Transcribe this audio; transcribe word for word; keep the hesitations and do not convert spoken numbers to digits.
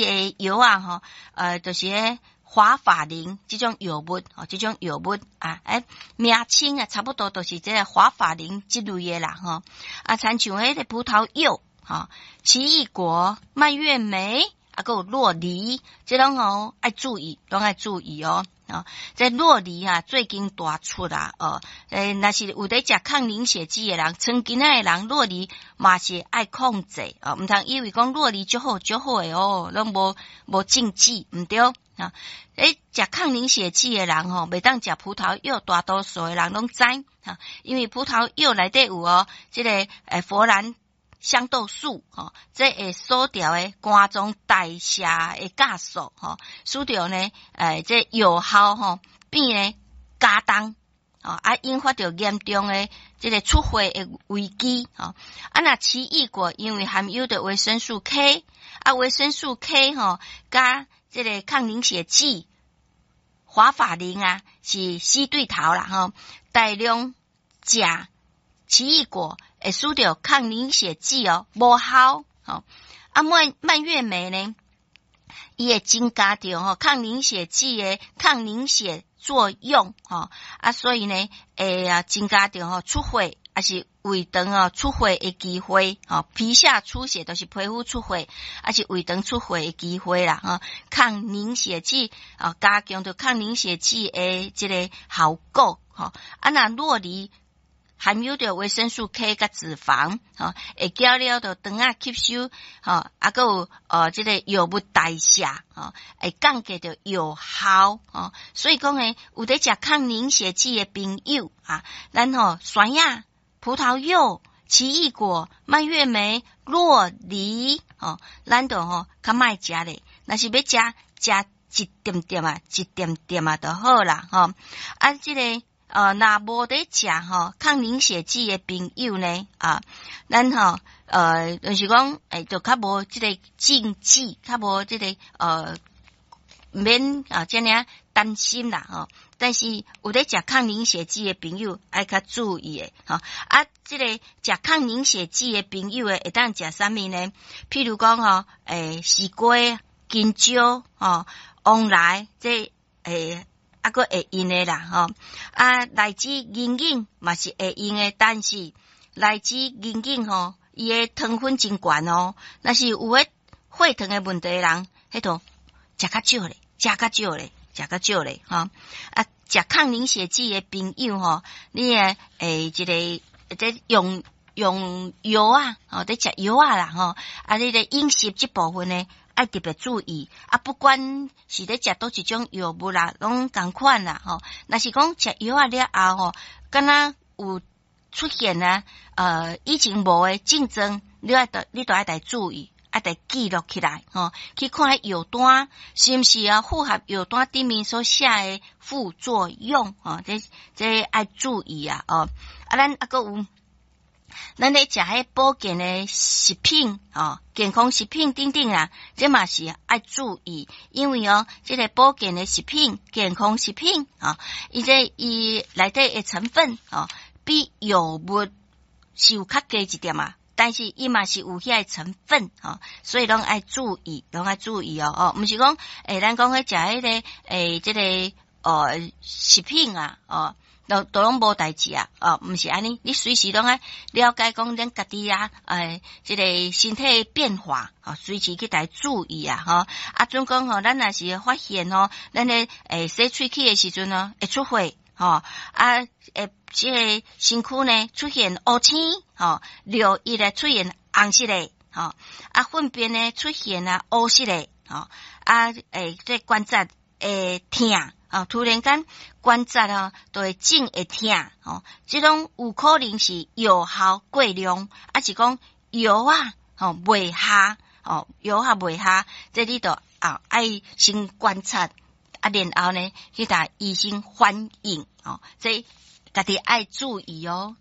的藥仔吼，呃，就是彼華法林這種藥物，吼，這種藥物啊，欸，名稱啊，差不多都是這个華法林這類的啦，吼。啊，親像彼个葡萄柚，吼，奇異果、蔓越莓，啊，閣有酪梨，這攏吼愛注意，攏愛注意哦。哦，這酪梨啊，最近大出啦，哦，欸，若是有佇食抗凝血劑的人，腸筋仔的人，酪梨嘛是愛控制哦，毋通以為講酪梨足好足好的哦，攏無無禁忌，毋對啊。欸，食抗凝血劑的人吼，袂當食葡萄柚，大多數的人攏知，哈，因為葡萄柚內底有哦，這个欸佛蘭香豆素，吼，這會阻著的肝臟代謝的酵素，吼，使著呢，欸，這藥效吼變呢加重，哦，啊，引發著嚴重的這个出血的危機，吼。啊，若奇異果因為含有著維生素 K，啊，維生素 K 吼，佮這个抗凝血劑華法林啊，是死對頭啦，吼，大量食奇異果會使著抗凝血劑哦無效，吼。啊，蔓蔓越莓呢，伊會增加著吼抗凝血劑的抗凝血作用，吼，啊，所以呢，會啊增加著吼出血，抑是胃腸哦出血的機會，吼，皮下出血就是皮膚出血，抑是胃腸出血的機會啦，吼。抗凝血劑啊，加強著抗凝血劑的這个效果，吼。啊，若酪梨含有著維生素 K 佮脂肪，吼，會減少著腸仔吸收，吼，啊，閣有呃這个藥物代謝，吼，會降低著藥效，吼。所以講呢，有佇食抗凝血劑的朋友啊，咱吼酸仔、葡萄柚、奇異果、蔓越莓、酪梨，吼，咱就吼較莫食咧。若是欲食，食一點點啊，一點點啊就好啦，吼。啊，這个呃，若無佇食吼抗凝血劑的朋友呢，啊，咱吼呃，就是講，欸，就較無這个禁忌，較無這个呃，免啊，遮爾擔心啦，吼。但是有佇食抗凝血劑的朋友愛較注意的，吼。啊，這個食抗凝血劑的朋友的會當食啥物呢？譬如講吼，欸，絲瓜、香蕉、吼，黃梨，這欸。啊，閣會用的啦，吼！啊，荔枝、銀耳嘛是會用的，但是荔枝、銀耳吼，伊的糖分真懸哦。若是有彼血糖的問題的人，彼就食較少咧，食較少咧，食較少咧，吼！啊，食抗凝血劑的朋友吼，你的欸，這个這用用藥仔，吼，佇食藥仔啦，吼，啊，你的飲食這部分呢，愛特別注意啊！不管是咧食佗一種藥物啦，攏仝款啦，吼。若是講食藥仔了後吼，敢若有出現啊，呃，以前無的症狀，你愛著你著愛來注意，愛來記錄起來，吼，去看彼藥單是毋是啊符合藥單頂面所寫的副作用，吼，這這愛注意啊，哦。啊，咱猶閣有。咱咧食彼保健的食品，吼，健康食品等等啊，這嘛是愛注意，因為哦，這个保健的食品、健康食品，吼，伊這伊內底的成分，吼，比藥物是有較低一點啊，但是伊嘛是有遐个成分，吼，所以攏愛注意，攏愛注意哦，哦，毋是講，欸，咱講彼食彼个，欸，這个，呃，食品啊，哦。都都攏無代誌啊！哦，毋是按呢，你隨時攏愛了解講咱家己啊，欸，這个身體變化，吼，隨時去來注意啊，吼。啊，準講吼，咱若是發現吼，咱咧欸洗喙齒的時陣哦，會出血，吼，啊，會這个身軀呢出現烏青，吼，尿液咧出現紅色的，吼，啊，糞便呢出現啊烏色的，吼，啊，欸，這關節會疼。哦，突然間關節哦，就會腫會疼，吼，這攏有可能是藥效過量，抑是講藥仔吼袂效，吼藥仔袂效，這你就啊愛先觀察，啊，然後呢去共醫生反映，吼，這家己愛注意哦。